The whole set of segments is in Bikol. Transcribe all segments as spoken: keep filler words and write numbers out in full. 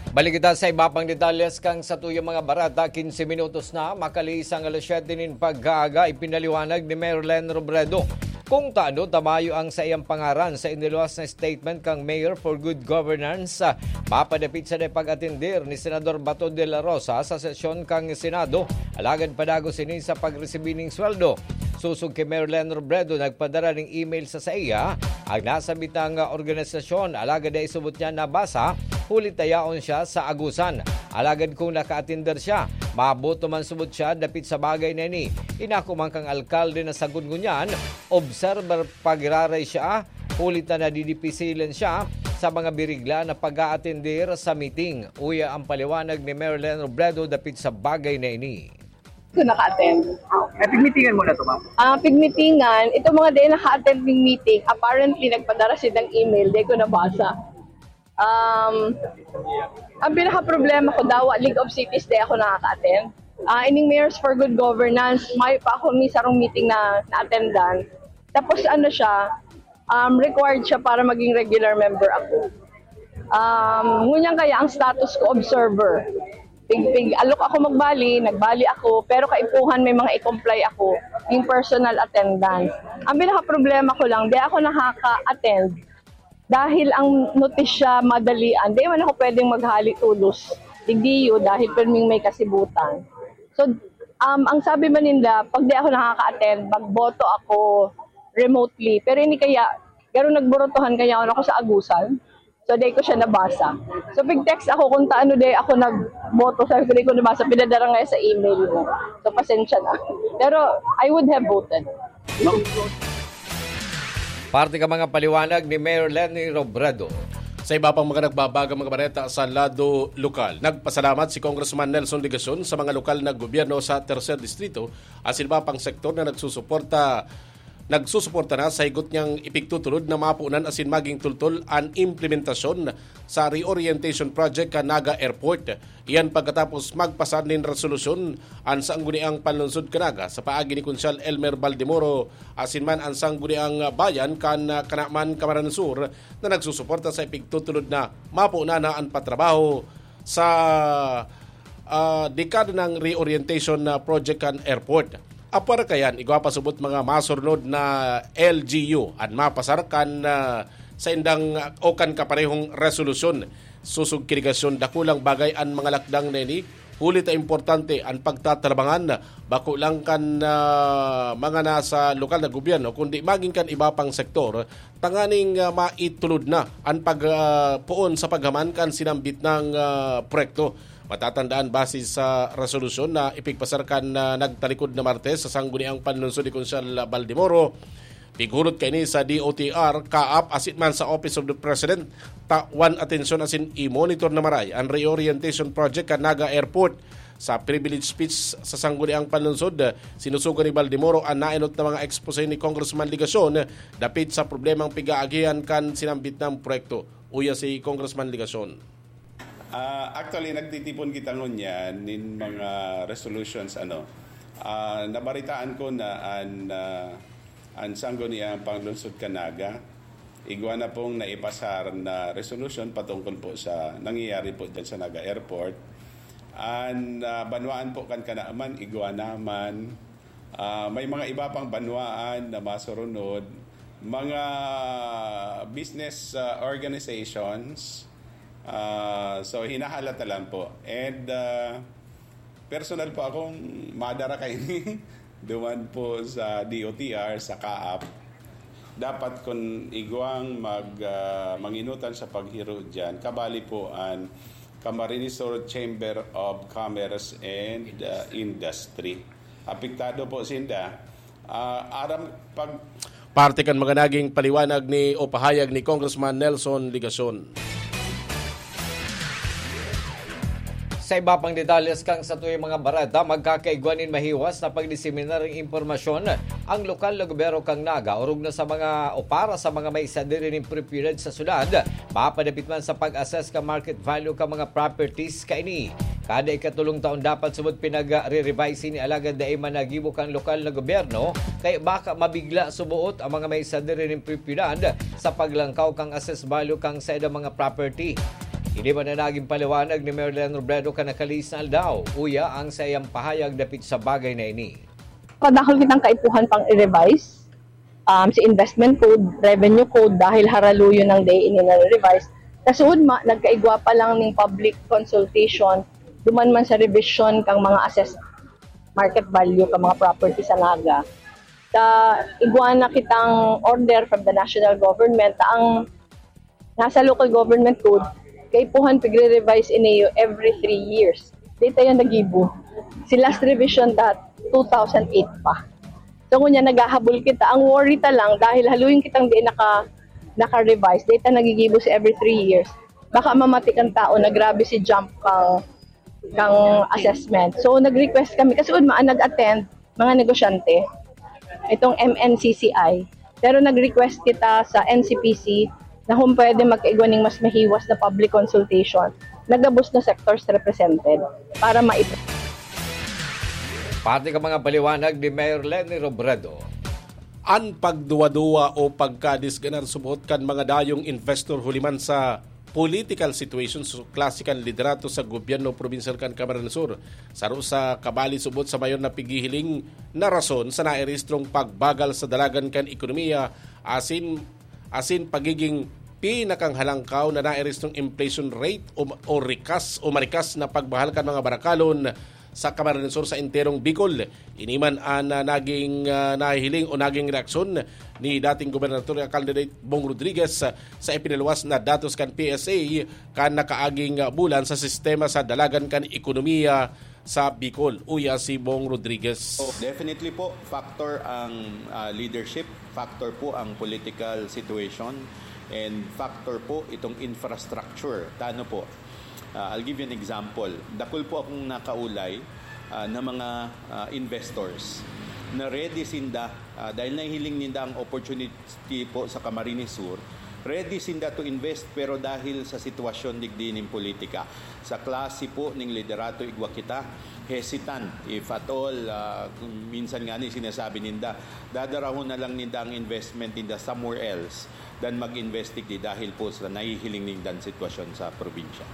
Balik kita sa iba pang detalles kan satuyang mga bareta. Quince minutos na makalihis an alas siyete nin pagkaaga, ipinaliwanag ni Mayor Len Robredo kung tano ta mayo ang saiyang pangaran sa iniluwas na statement kan Mayor for Good Governance, ah, mapadapit sa pag-atender ni Senador Bato de la Rosa sa sesyon kan Senado, alagad padagos ini sa pagresibi nin sweldo. Sosog ki Mayor Len Robredo, nagpadara nin email sa saiya ang nasambitang organisasyon, alagad dai subot niya nabasa, huli ta yaon siya sa Agusan. Alagad kun naka-atender siya, maboto man subot siya dapit sa bagay na ini. Inako man kan alkalde na sagkod ngunyan, observer pa giraray siya, huli ta nadidipisilan siya sa mga birigla na pag-aatender sa meeting. Uya ang paliwanag ni Mayor Len Robredo dapit sa bagay na ini. Ko naka-attend. Eh, pigmitingan mo na to, ma'am. Ah, pigmitingan, itong mga dai naka-attend ning meeting, apparently nagpadara siya ng email, dai ko nabasa. Um, ang pinaka-problema ko, dawa League of Cities, dai ako nakaka-attend. Ah, ining Mayors for Good Governance, may pa ako ni sarong meeting na na-attendan. Tapos ano siya, um, required siya para maging regular member ako. Um, ngunyan kaya ang status ko, observer. Pig, pig, alok ako magbali, nagbali ako, pero kaipuhan may mga i-comply ako, yung personal attendance. Ang pinaka-problema ko lang, di ako nakaka-attend dahil ang notisya madalian, di man ako pwedeng maghali tulos. Digdiyo, dahil perming may kasibutan. So, um, ang sabi man ninda, pag di ako nakaka-attend, magboto ako remotely. Pero ini kaya, garo nagborotohan kaya ako sa Agusan. So, di ko siya nabasa. So, pig-text ako kung taano di ako nagboto. Sabi ko, di ko nabasa. Pinadara nga sa email mo. So, pasensya na. Pero, I would have voted. Parte ka mga paliwanag ni Mayor Leni Robredo. Sa iba pang mga nagbabagang mga bareta sa lado lokal, nagpasalamat si Congressman Nelson Legacion sa mga lokal na gobyerno sa Tercer Distrito asin iba pang sektor na nagsusuporta nagsusuporta na sa higot niyang ipigtutulod na mapunan asin maging tultol an implementasyon sa reorientation project kan Naga Airport. Iyan pagkatapos magpasar nin resolusyon an Sangguniang Panlungsod kan Naga sa paagi ni Konsyal Elmer Baldemoro asin man an Sangguniang Bayan kan Canaman, Camarines Sur, na nagsusuporta sa ipigtutulod na mapunan na an patrabaho sa ah, dekada ng reorientation na project kan airport. Apwera kayan, igwa pa subot mga masurnod na L G U an mapasar kan ah, saindang o kan kaparehong resolusyon. Sosog ki Legacion, dakulang bagay an mga lakdang na ini, huli ta importante an pagtatabangan, bako lang kan ah, mga nasa lokal na gobyerno, kundi maging kan iba pang sektor, tanganing ah, maitulod na an pag ah, poon sa paghaman kan sinambit nang ah, proyekto. Matatandaan, base sa resolusyon na ipigpasar kan ah, nagtalikod na Martes sa Sangguniang Panlungsod ni Konsyal Baldemoro, pighulot kaini sa D O T R, CAAP asin man sa Office of the President, tawan atensyon asin i-monitor na maray an reorientation project kan Naga Airport. Sa privilege speech sa Sangguniang Panlungsod, sinusugo ni Baldemoro an naenot na mga expose ni Congressman Legacion dapit sa problemang pig-aagihan kan sinambit na proyekto. Uya si Congressman Legacion. Ah, actually, nagtitipon kita ngunyan nin mga resolutions, ano. Ah, nabaritaan ko na an ah, an Sangguniang Panlungsod kan Naga, igwa na pong naipasar na resolution patungkol po sa nangyayari po dyan sa Naga Airport. An ah, banwaan po kan Canaman, igwa na man. Ah, may mga iba pang banwaan na masurunod, mga business ah, organizations. Ah, so, hinahalata lang po. And ah, personal po akong madara kaini duman po sa D O T R, sa CAAP. Dapat kun igwang mag ah, manginutan sa paghiro diyan, kabali po an Camarines Sur Chamber of Commerce and ah, Industry. Apektado po sinda. Ah, aram pag Parte kan mga naging paliwanag ni o pahayag ni Congressman Nelson Legacion. Sa iba pang detalles kan satuyang mga bareta, magkakaigwa nin mahiwas na pagdiseminar nin impormasyon ang lokal na gobyerno kan Naga, orog na sa mga o para sa mga may sadiri nin propiedad sa syudad, mapadapit man sa pag-assess kan market value kan mga properties kaini. Kada ikatolong taon dapat subot pinagre-revise ini, alagad dai man nagibo kan lokal na gobyerno, kaya baka mabigla suboot ang mga may sadiri nin propiedad sa paglangkaw kan assess value kan saindang mga property. Ini man ang naging paliwanag ni Mayor Len Robredo kan nakalis na aldaw. Uya ang saiyang pahayag dapit sa bagay na ini. Padakol kitang kaipuhan pang i-revise um, sa investment code, revenue code, dahil haraluyon ng day ini na revise. Kasuod ma, nagkaigwa pa lang ning public consultation, duman man sa revision kang mga assessed market value ka mga property sa Naga. Ta igwa na kitang order from the national government ta ang nasa local government code, kaipuhan pigre-revise ini every three years. Dito yung nagibo. Si last revision that two thousand eight pa. So ngunyan naghahabol kita. Ang worry ta lang dahil haluin kitang di naka naka-revise. Dito nagigibo si every three years. Baka mamati kang tao na grabe si jump kang kang assessment. So nag-request kami kasi udma ang nag-attend mga negosyante itong M N C C I. Pero nag-request kita sa N C P C na kung pwede magkaigwa ning mas mahiwas na public consultation na gabos na sectors represented para maip- Pati ka mga paliwanag ni Mayor Leni Robredo. An pagduwa-duwa o pagkadisganar subot kan mga dayong investor huli man sa political situation sa klase kan liderato sa gobyerno probinsyal kan Camarines Sur. Saro sa kabali subot sa mayor na pighihiling na rason sa nairehistrong pagbagal sa dalagan kan ekonomiya asin asin pagiging pinakanghalangkaw na nairehistrong inflation rate o, o rikas o marikas na pagmahal kan mga barakalon sa Camarines Sur sa enterong Bicol. Ini man an ah, naging ah, nahihiling o naging reaksyon ni dating gobernador candidate Bong Rodriguez ah, sa ipinaluwas na datos kan P S A kan nakaaging ah, bulan sa sistema sa dalagan kan ekonomiya sa Bicol. Uya si Bong Rodriguez. So, definitely po, factor ang ah, leadership, factor po ang political situation, and factor po itong infrastructure. Tano po. Ah, I'll give you an example. Dakul po akong nakaulay ah, na mga ah, investors na ready sinda ah, dahil nahihiling ninda ang opportunity po sa Camarines Sur, ready sinda to invest, pero dahil sa sitwasyon digdi ning politika, sa klase po ning liderato igwa kita, hesitant if at all, ah, minsan nga ni sinasabi ninda, dadarahon na lang ninda ang investment ninda somewhere else than mag-invest digdi dahil po sa nahihiling nindang sitwasyon sa probinsya.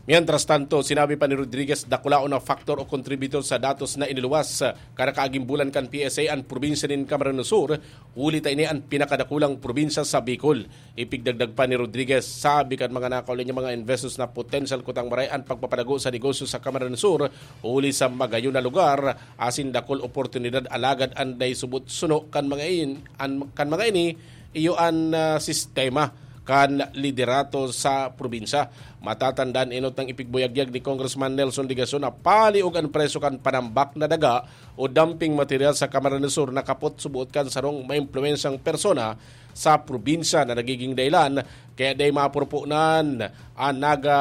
Mientras tanto, sinabi pa ni Rodriguez, dakulaon na factor o contributor sa datos na iniluwas kan nakaaging bulan kan P S A an probinsya nin Camarines Sur, huli ta ini an pinakadakulang probinsya sa Bicol. Ipigdagdag pa ni Rodriguez, sabi kan mga nakauli niya mga investors na potensyal kutang maray an pagpapalago sa negosyo sa Camarines Sur, huli sa magayon na lugar, asin dakul oportunidad alagad an dai subot suno kan mga in, an, kan mga ini, iyo an ah, sistema kan liderato sa probinsya. Matatandaan enot nang ipigbuyagyag ni Congressman Nelson Legacion na paliog an presyo kan panambak na daga o dumping material sa Camarines Sur na kapot subuot kan sarong maimpluwensyang persona sa probinsya na nagiging dahilan kaya dai mapurupunan an Naga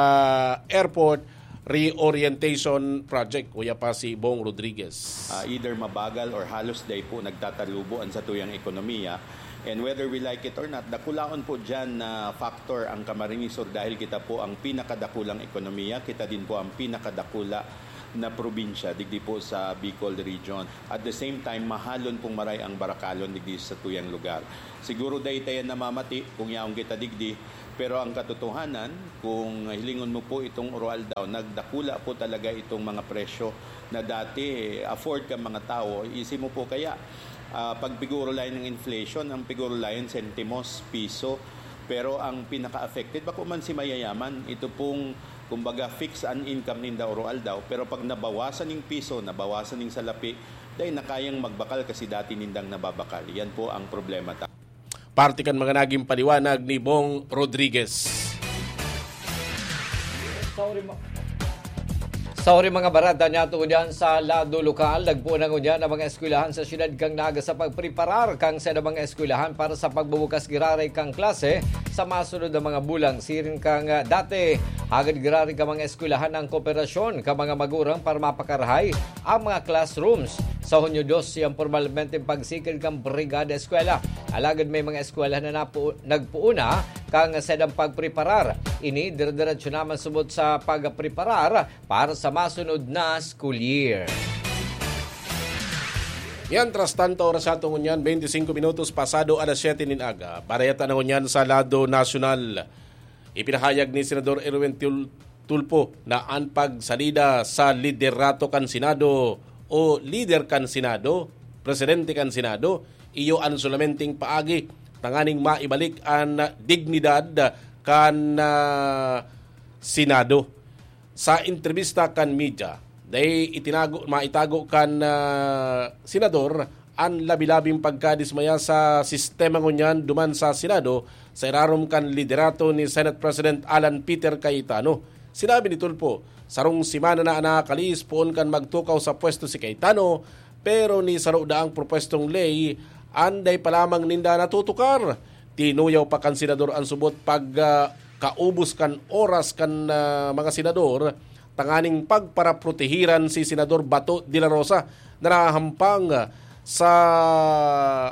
Airport Reorientation Project, kuya pa si Bong Rodriguez. Ah, either mabagal or halos dai po nagtatalubo ang satuyang ekonomiya. And whether we like it or not, dakulaon po dyan na factor ang Camarines Sur dahil kita po ang pinakadakulang ekonomiya, kita din po ang pinakadakula na probinsya digdi po sa Bicol region. At the same time, mahalon pong maray ang barakalon digdi sa tuyang lugar. Siguro dai tayo namamati kung yaon kita digdi, pero ang katotohanan, kung hilingon mo po itong Oroaldaw, nagdakula po talaga itong mga presyo na dati afford ka mga tao. Isi mo po kaya, ah, pag piguro layan ng inflation, ang piguro layan sentimos, piso, pero ang pinaka-affected, bako man si mayayaman, ito pong, kumbaga, fix an income ninda Oroaldaw, pero pag nabawasan ng piso, nabawasan ng salapi, dahil na kayang magbakal kasi dati nindang nababakal. Yan po ang problema ta. Parte kan mga naging paliwanag ni Bong Rodriguez. Sa uri, ma- sa uri mga barata niya tungod yan sa lado lokal, nagpuon na ngunyan ang mga eskwelahan sa siyudad kang Naga sa pagpreparar kang sa mga eskwelahan para sa pagbubukas giraray kang klase sa masunod na mga bulang. Siring kang ah, dati, hagad giraray ka mga eskwelahan ang kooperasyon ka mga magurang para mapakarahay ang mga classrooms. Sa Hunyo dos, siyang pormalmente pagsikil kang Brigada Eskwela. Alagad may mga eskwela na napu- nagpuuna kang sedang pagpreparar. Ini, dire-diretso naman subot sa pagpreparar para sa masunod na school year. Mientras tanto, oras sa ato ngunyan, twenty-five minutos pasado alas siyete nin aga. Barayata na ngunyan sa lado nasyonal. Ipinahayag ni Senador Erwin Tul-, Tulfo na an pagsalida sa liderato kan Senado o lider kan Senado, presidente kan Senado, iyo an solamenteng paagi tanganing maibalik an dignidad kan, ah, Senado. Sa entrebista kan media, dai itinago, maitago kan, ah, senador an labi-labing pagkadismaya sa sistema ngunyan duman sa Senado sa irarom kan liderato ni Senate President Alan Peter Cayetano. Sinabi ni Tulfo, "Sarong semana na an nakakalihis poon kan magtukaw sa pwesto si Cayetano, pero ni saro daang propwestong ley an dai pa lamang ninda natutukar." Tinuyaw pa kan senador an subot pag, ah, kaubos kan oras kan, ah, mga senador tanganing pagparaprotehiran si Senador Bato de la Rosa na nahahampang sa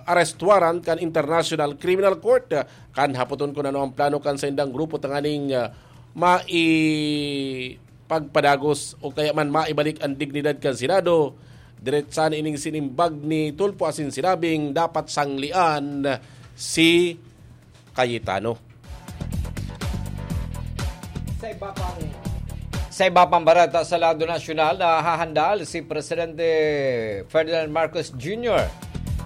arrest warrant kan International Criminal Court. Kan hapoton kun ano ang plano kan saindang grupo tanganing, ah, maipagpadagos o kaya man maibalik ang dignidad kan Senado, diretsan ining sinimbag ni Tulfo asin sinabing dapat sanglian si Cayetano. Sa iba pang, sa iba pang bareta sa lado nasyonal, nahahandal si Presidente Ferdinand Marcos Junior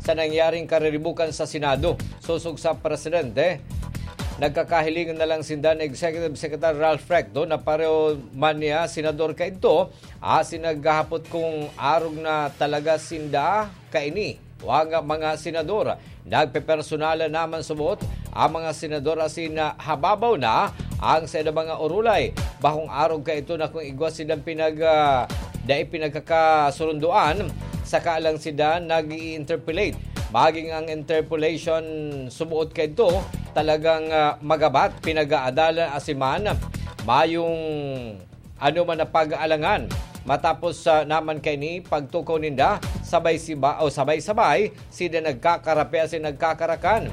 sa nangyaring kariribukan sa Senado. Sosog sa Presidente, nagkakahilingan na lang sinda ni Executive Secretary Ralph Recto na pareho man niya senador kaidto, asin naghahapot kung arog na talaga sinda kaini o ang mga senador. Nagpepersonal na man subot ang mga senador asin na hababaw na ang sa ilang mga urulay. Bakong arog kaito na kung igwa silang pinag, ah, dai pinagkakasurundoan, saka lang sila nag-i-interpolate. Maging ang interpolation subuot kaito talagang, ah, magabat, pinag-aadalan asin man mayong ano man na pag-aalangan. Matapos, ah, naman kaini pagtukaw ninda, sabay siba o sabay-sabay sila nagkakarapi asin nagkakarakan.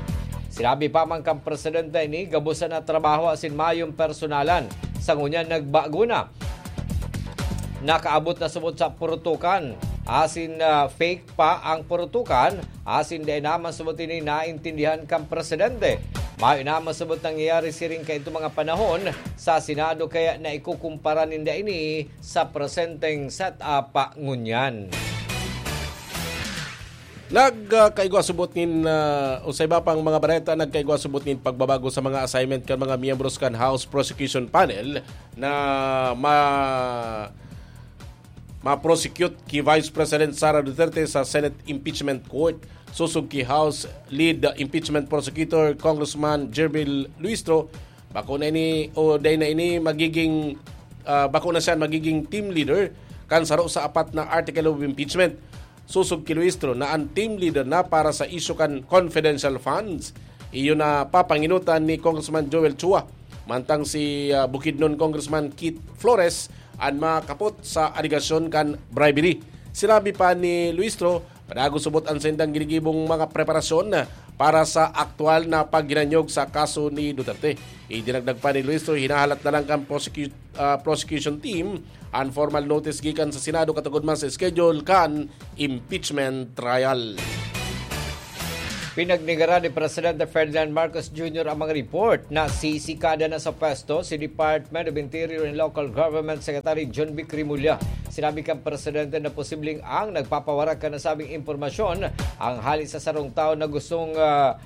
Sinabi pa man kan presidente ini, gabos na trabaho asin mayong personalan. Sa ngunyan nagbago na. Nakaabot na subot sa purutukan. Asin, ah, fake pa ang purutukan, asin dai naman subot ini naintindihan kan presidente. Mayo naman subot nangyayari siring kaito mga panahon sa Senado, kaya naikukumpara ninda ini sa presenteng setup ngunyan. Nagkaigwa subot nin, ah, o sa iba pang mga bareta, nagkaigwa subot nin pagbabago sa mga assignment kan mga miyembros kan House Prosecution Panel na ma-, ma-prosecute ki Vice President Sara Duterte sa Senate Impeachment Court. Sosog ki House Lead Impeachment Prosecutor Congressman Gerbil Luistro, bako na ini o dai na ini magiging, ah, bako na siya magiging team leader kan saro sa apat na article of impeachment. Sosog ki Luistro na an team leader na para sa isyu kan confidential funds. Iyo na papanginutan ni Congressman Joel Chua, mantang si, ah, Bukidnon Congressman Keith Flores an makapot sa alegasyon kan bribery. Sinabi pa ni Luistro, padagos subot an saindang ginigibong mga preparasyon para sa aktual na paghinanyog sa kaso ni Duterte. Idinagdag pa ni Luistro, hinahalat na lang kan prosecu-, ah, prosecution team an formal notice gikan sa Senado katugod man sa schedule kan impeachment trial. Pinagnigara ni Presidente Ferdinand Marcos Junior ang mga report na sisikada na sa pwesto si Department of Interior and Local Government Secretary John Vic Remulla. Sinabi kan Presidente na posibleng ang nagpapawarak kan nasabing impormasyon ang hali sa sarong tao na gustong, ah,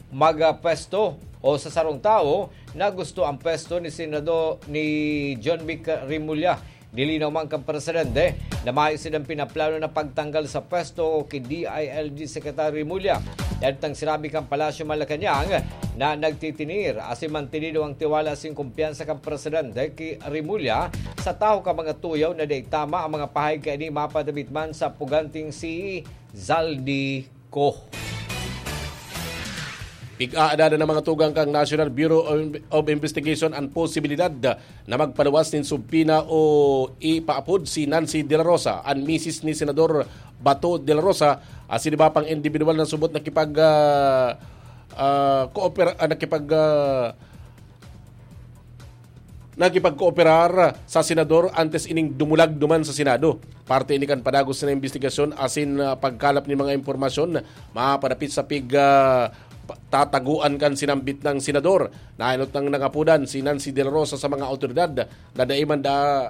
magpwesto o sa sarong tao na gusto ang pwesto ni Senado ni John Vic Remulla. Nilinaw man kan presidente na mayo silang pinaplano na pagtanggal sa pwesto ki D I L G Secretary Remulla. Dahil tang sinabi kan Palasyo Malacañang na nagtitinir asin mantinido ang tiwala asin kumpiyansa kan presidente ki Remulla sa tawo kan mga tuyaw na dai tama ang mga pahayag kaini mapadapit man sa puganting si Zaldy Co. Pig-aadalan ng mga tugang kan National Bureau of, of Investigation an posibilidad na magpaluwas nin subpoena o ipaapod si Nancy De La Rosa, an misis ni Senador Bato De La Rosa, asin iba pang individual na subot nakipag, ah, ah, koopera-, ah, nakipag, ah, nakipagkooperar sa senador antes ining dumulag duman sa Senado. Parte ini kan padagos na imbestigasyon asin, ah, pagkalap nin mga impormasyon mapadapit sa pig, ah, tataguan kan sinambit na senador. Nainot nang nangapodan si Nancy De La Rosa sa mga awtoridad na dai man da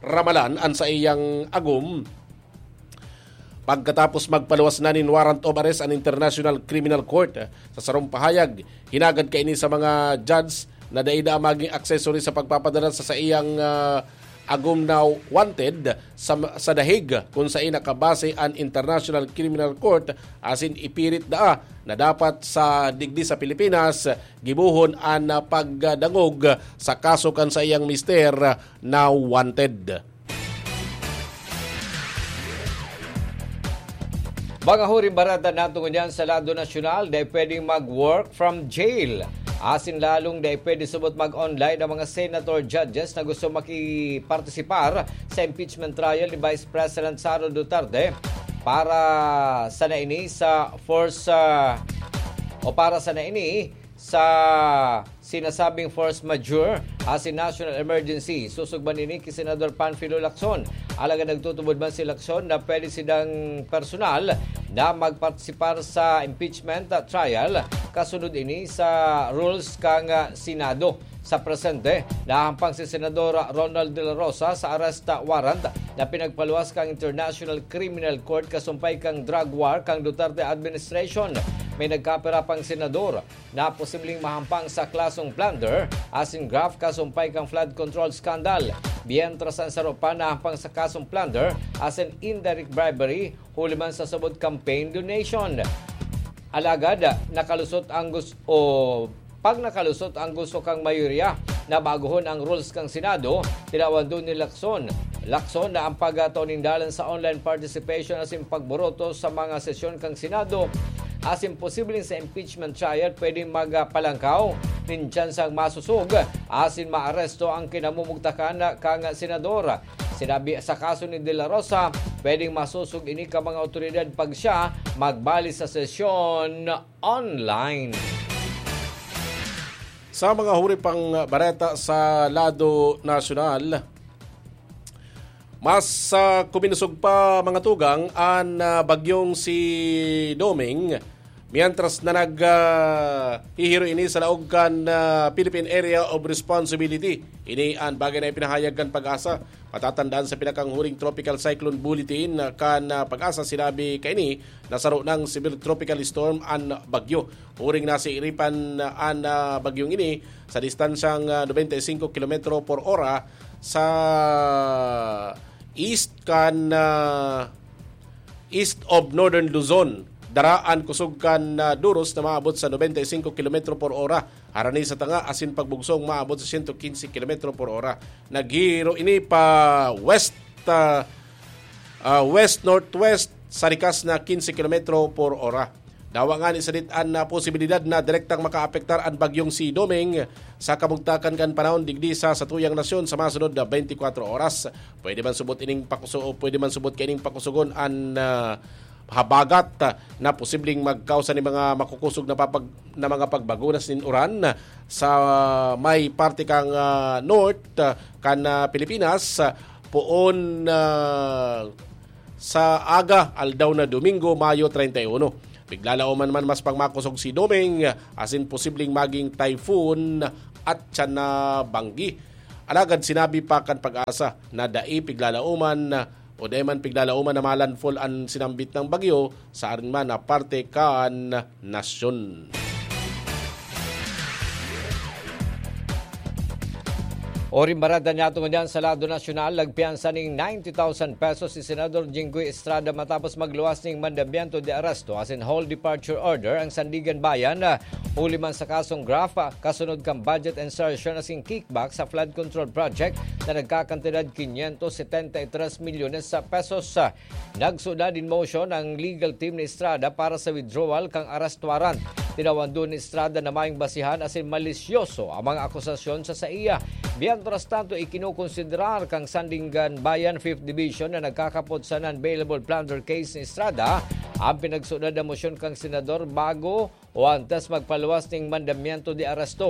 ramalan an saiyang agom. Pagkatapos magpaluwas na nin warrant of arrest an International Criminal Court, sa sarong pahayag, hinagad kaini sa mga judge na dai da magin accessory sa pagpapadara sa saiyang, ah, agom na wanted sa, sa The Hague, kun saen nakabase an International Criminal Court asin ipirit daa na dapat sa digdi sa Pilipinas gibohon an, ah, pagdangog sa kaso kan saiyang mister na wanted. Mga huring bareta, natungo niyan sa lado nasyonal, dai pwedeng mag-work from jail. Asin lalong dai pwede subot mag-online ang mga senator judges na gusto makipartisipar sa impeachment trial ni Vice President Sara Duterte para sana ini sa force, ah, o para sana ini sa sinasabing force majeure asin national emergency. Susugban ini ki Senador Panfilo Lacson. Alagad nagtutubod man si Lacson na pwede sidang personal na magpartisipar sa impeachment trial kasunod ini sa rules kan Senado. Sa presente, nahampang si Senador Ronald De La Rosa sa arrest warrant na pinagpaluwas kan International Criminal Court kasumpay kan drug war kan Duterte administration. May nagkapira pang senador na posibleng mahampang sa kasong plunder asin graft kasumpay kan flood control scandal, mientras an saro pa nahampang sa kasong plunder asin indirect bribery huli man sa sabot campaign donation. Alagad nakalusot ang gus-, o pag nakalusot ang gusto kang mayorya na baguhon ang rules kang Senado, tinawan ni Lacson. Lacson na ang pagtao nin dalan sa online participation asin pagboroto sa mga sesyon kang Senado asin posibleng sa impeachment trial pwedeng magpalangkaw nin tsansang masusog asin maaresto ang kinamumugtakan kang senador. Sinabi sa kaso ni De La Rosa, pwedeng masusog ini ka mga awtoridad pag siya magbali sa sesyon online. Sa mga huri pang bareta sa lado nasyonal, mas, ah, kuminsog pa mga tugang an, ah, bagyong si Doming, mientras na nag, ah, hihiro ini sa laog kan, ah, Philippine Area of Responsibility. Ini an bagay na ipinahayag kan PAGASA. Matatandaan sa pinakanghuring Tropical Cyclone Bulletin, ah, kan, ah, PAGASA, sinabi kaini na saro nang severe tropical storm an bagyo. Huring nasiiripan, ah, an, ah, bagyong ini sa distansyang, ah, nobenta y singko kilometro por ora sa east kan, ah, east of Northern Luzon. Dara an kusog kan, ah, duros na maabot sa nobenta y singko kilometro por ora. Harani sa tanga asin pagbugsong maabot sa sento kinse kilometro por ora. Naghihiro ini pa west, ah, ah, west-northwest sa rikas na kinse kilometro por ora. Dawa ngani sadit an, ah, posibilidad na direktang makaapektar an bagyong si Doming sa kabugtakan kan panahon digdi sa satuyang nasyon sa masunod na twenty-four oras. Pwede man subot ining pakuso-, pwede man subot kaining pakusogon an, ah, habagat, ah, na posibleng magkausa ni mga makukusog na papag-, na mga pagbagunas nin uran sa may parte kang, ah, north, ah, kan, ah, Pilipinas, ah, poon, ah, sa aga, aldaw na Domingo, Mayo treinta y uno. Piglalauman man mas pangmakosog si Doming, asin posibleng maging typhoon at siya na banggi. Alagad sinabi pa kan PAGASA na dai piglalauman o dai man piglalauman na malandfall an sinambit na bagyo sa arin man na parte kan nasyon. Oring bareta niyato ngunyan sa lado nasyonal, nagpiyansa nin ninety thousand pesos si Senador Jinggoy Estrada matapos magluwas nin mandamiento de arresto asin hold departure order ang Sandiganbayan, ah, huli man sa kasong graft, ah, kasunod kan budget insertion asin kickback sa flood control project na nagkakantidad quinientos setenta y tres milyones sa pesos. Nagsuda nin motion ang legal team ni Estrada para sa withdrawal kan arrest warrant. Tinawan ni Estrada na mayong basihan asin malisyoso ang mga akusasyon sa saiya. Mientras tanto, ikinokonsiderar kan Sandiganbayan Fifth Division na nagkakapot sa non-bailable plunder case ni Estrada ang pinagsuda na motion kan senador bago o antes magpaluwas nin mandamiento de arresto.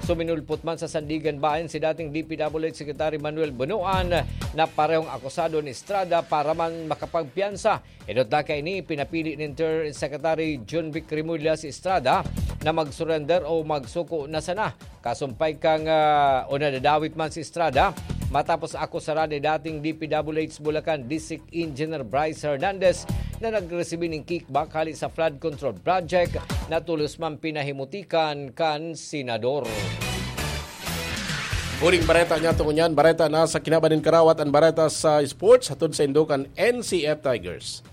Suminulpot man sa Sandiganbayan si dating D P W H Secretary Manuel Bonoan na parehong akusado ni Estrada para man makapagpiyansa. Enot na kaini, pinapili nin Interior Secretary Jonvic Remulla si Estrada na mag-surrender o magsuko na sana. Kasumpay kan, ah, o nadadawit man si Estrada matapos akusaran ni dating D P W H Bulacan District Engineer Bryce Hernandez na nagresibi nin kickback hali sa flood control project na tolos man pinahimutikan kan senador. Huling bareta niya tungod niyan, bareta na sa kinaban nin karawat, ang bareta sa sports, hatod sa indo kan N C F Tigers.